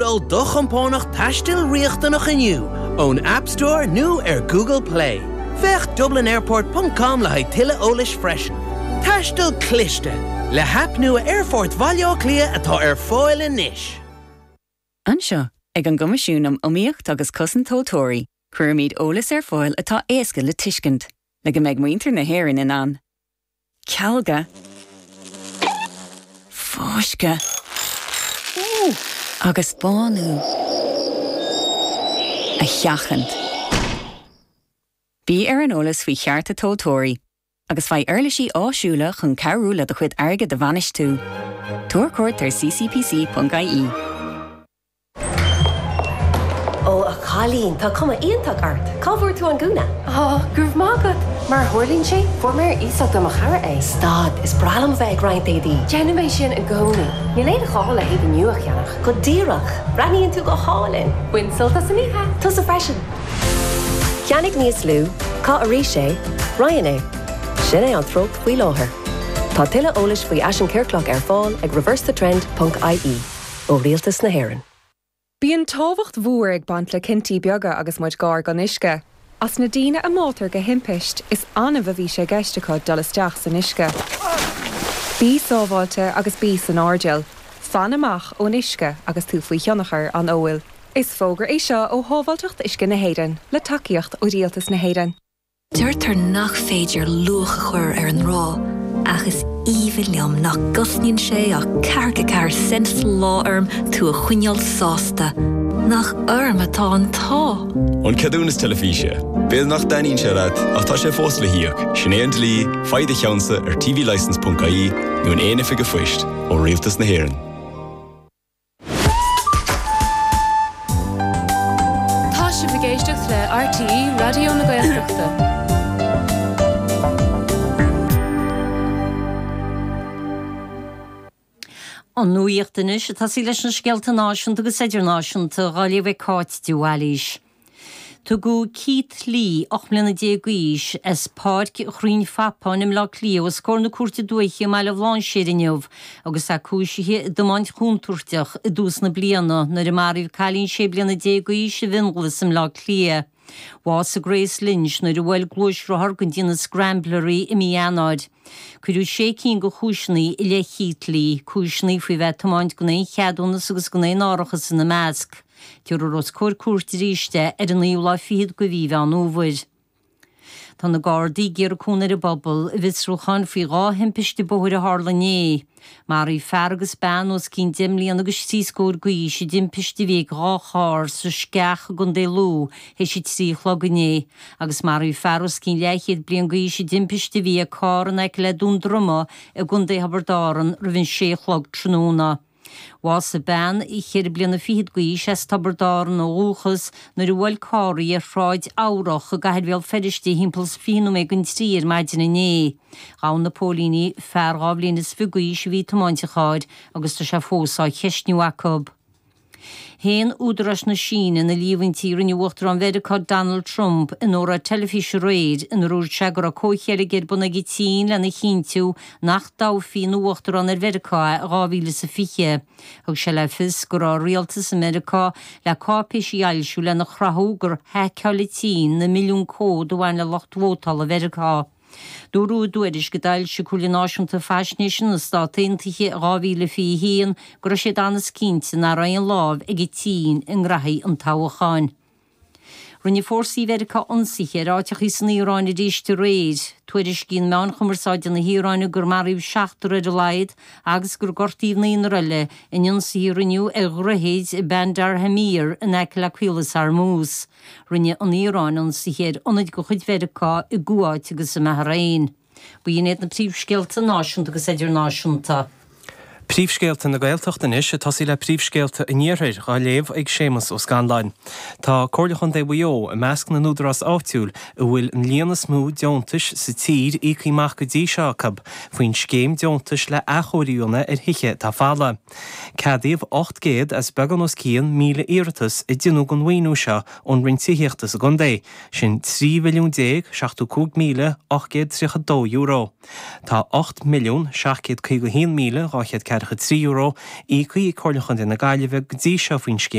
Lódáil do chompánach taistil riachtanach inniu ón App Store nó ar Google Play. Féach dublinairport ponc com le haghaidh tuilleadh eolais freisin. Taisteal cliste! Le haip nua Aerfort Bhaile Átha Cliath atá ar fáil anois. Anseo, ag an gCoimisiún um Iomaíocht agus Cosaint Tomhaltóirí, cuirimid eolas ar fáil atá éasca le tuiscint, le go mbeidh muintir na hÉireann in ann. Cealga. Fáisceadh. Agus bánú. A sheachaint. Bí ar an eolas faoi chearta tomhaltóirí agus faigh uirlisí áisiúla chun cabhrú le do chuid airgid a bhainistiú. Tabhair cuairt ar ccpc.ie. Ó, a chailín, tá cuma iontach ort! Cá bhfuair tú an gúna? Á, go raibh maith agat! Mar a tharlaíonn sé, fuair mé ar iasacht ó mo chara é. Stad, is breá liom a bheith ag roinnt éadaí. Déanaim é sin i gcónaí. Níl aon ghá le héadaí nua a cheannach. Go díreach! Breathnaíonn tú go hálainn! Bain sult as an oíche! Tusa freisin! Ceannaigh níos lú, caith arís é, roinn é. Sin é an treocht faoi láthair. Tá tuilleadh eolais faoi fhaisean ciorclach ar fáil ag reversethetrend ponc ie. ó Rialtas na hÉireann. Bíonn tábhacht mhór ag baint le cinntí beaga agus muid gar don uisce. As na daoine a mbáitear de thimpist, is annamh a bhí sé i gceist acu dul isteach san uisce. Bí sábháilte agus bí san airdeall. Fan amach ón uisce agus tú faoi thionchar an óil. Is fógra é seo ó Shábháilteacht Uisce na hÉireann, le tacaíocht ó Rialtas na hÉireann. Deirtear nach féidir luach a chur ar an ngrá, ach is aoibhinn liom nach gcosnaíonn sé ach ceathracha 4 cent sa lá orm tú a choinneáil sásta. Nach orm atá an t-ádh! An ceadúnas teilifíse. B'fhéidir nach dtaitníonn sé leat, ach tá sé fós le híoc. Sin é an dlí, faigh do cheannsa ar tvlicence.ie nó in aon oifig an phoist, ó Rialtas na hÉireann. Tá sibh ag éisteacht le RTÉ Raidió na Gaeltachta. An nuacht anois ag tosaí leis na scéalta náisiúnta agus idirnáisiúnta dhá léamh ag Cáit de Bhailís. Tugadh Keith Lee, 18 mbliana d'aois, as Páirc Chrainn Phapáin i mBleá Cliath os comhair na Cúirte Dúiche i mBaile Bhlainséir inniu agus é cúisithe i dtiomáint chontúirteach i dtús na bliana nuair a maraíodh cailín 16 bliana d'aois i bhFionnghlas i mBleá Cliath. Bhásaigh Grace Lynch nuair a bhuail gluaisrothar den déanamh Scrambler í i mí Eanáir. Cuireadh sé cinn de chúiseanna i leith Keith Lee, cúiseanna faoi bheith ag tiomáint gan aon cheadúnas agus gan aon árachas ina measc. Tabharfar os comhair cúirte arís é ar an naoú lá fichead de mhí Mheán Fhómhair. Tá na Gardaí ag iarraidh cúnamh ar an bpobal i bhfiosrúchán faoi dhá thimpiste bóthair a tharla inné. Maraíodh fear agus bean os cionn deich mbliana agus trí scór d'aois i dtimpiste a bhí ag dhá charr sa Sceach i gContae Lú théis a trí a chlog inné agus maraíodh fear os cionn leathchéad bliain d'aois i dtimpiste a bhí ag carr in aice le Dún Droma i gContae Thiobraid Árann roimh an sé a chlog tráthnóna. Bhásaigh bean cheithre bliana fichead d'aois as Tiobraid Árann ó dhúchas nuair a bhuail carr í ar Shráid Eabhrach i gcathair Bhéal Feirste thimpeall is 20 nóiméad don trí ar maidin inné. Ghabh na póilíní fear 22 bhliain is d'aois a bhí ag tiomáint an chairr agus tá sé fós á cheistniú acu. Shéan údaráis na Síne na líomhaintí a rinne Uachtarán Mheiriceá Donald Trump in óráid teilifíse aréir inar dhúirt sé go raibh comhcheilg ar bun ag an tSín lena chinntiú nach dtoghfaí ina Uachtarán ar Mheiriceá é i 2020. Thug sé le fios go raibh rialtas i Meiriceá le cáipéisí a fhoilsiú lena chruthú gur haiceáil an tSín na milliúin comhad a bhain le lucht vótála Mheiriceá. Dúradh i dtuairisc a d'fhoilsigh Comhairle Náisiúnta Faisnéise na Stát Aontaithe i 2021 go raibh siad an-cinnte nach raibh aon lámh ag an tSín i ngraithí an toghcháin. Rinne fórsaí Mheiriceá ionsaithe ar áiteachaí san Iaráin arís aréir. Tuairiscíonn meáin chumarsáide na hIaráine gur maraíodh seachtar ar a laghad agus gur gortaíodh naonúr eile in ionsaithe a rinneadh ar dhroichid Bandar Amir in aice le Caolas Hormuz. Rinne an Iaráin ionsaithe ar ionaid de chuid Mheiriceá i gCuáit agus i mBahrain. B'in iad na príomhscéalta náisiúnta agus idirnáisiúnta. Príomhscéalta na Gaeltachta anois, ag tosaí le príomhscéalta an Iarthair, dhá léamh ag Séamus Ó Scanláin. Tá Comhairle Chontae Mhaigh Eo i measc na n-údarás áitiúil a bhfuil an líon is mó deontais sa tír íoctha amach go dtí seo acu faoin scéim deontais le athchóiriú a dhéanamh ar thithe atá folamh. Ceadaíodh 800 as beagán os cionn 1,000 iarratas a deonadh don mhaoiniú seo ón Roinn Tithíochta sa gcontae, sin €13,075,832. Tá €8,751,214. €43 íoctha ag Comhairle Chontae na Gaillimhe go dtí seo faoin scéim.